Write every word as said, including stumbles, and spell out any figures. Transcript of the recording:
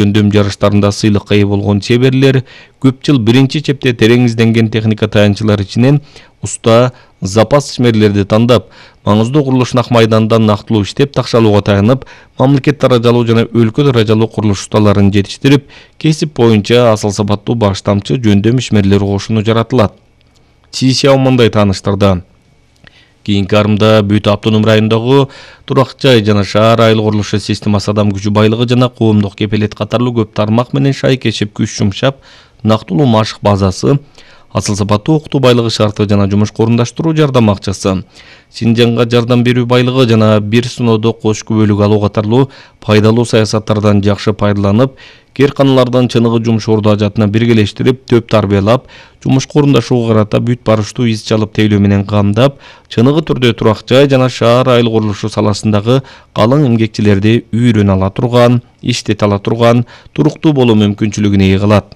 жөндөм жарыштарында сыйлыкка ээ болгон чеберлер көп жыл биринчи чепте терең изденген техника таянчылар ичинен уста запас ишмерлерди тандап, маңыздуу курулуш нак майданда нактылуу иштеп такшалууга таянып, мамлекет даражалуу жана өлкө даражалуу курулуш усталарын жетиштирип, кесип боюнча асыл сапаттуу баш тамчы жөндөм ишмерлер кошуну жаратылат. Си Сяо мындай тааныштырды. Кийинки арымда бүт автоном райондогу турак жай жана шаар айыл курулушу системасы адам күчү байлыгы жана коомдук кепелет катарлуу көп тармак менен шайкешип күч жумшап, нактылуу машык базасы, асыл сапаттуу окутуу байлыгы шарты жана жумушка орундаштыруу жардам акчасы, Синжанга жардам берүү байлыгы жана бир сыноодо кош күбөлүк алуу катарлуу пайдалуу саясаттардан жакшы пайдаланып, кээрканалардан чыныгы жумуш орду ажатына биргелештирип, төп тарбиялап, жумушка орундашууга карата бүт барыштуу из чалып тейлөө менен камдап, чыныгы түрдө турак жай жана шаар айыл курулушу саласындагы калың эмгекчилерди үйрөнө ала турган, иштете ала турган, туруктуу болуу мүмкүнчүлүгүнө ээ кылат.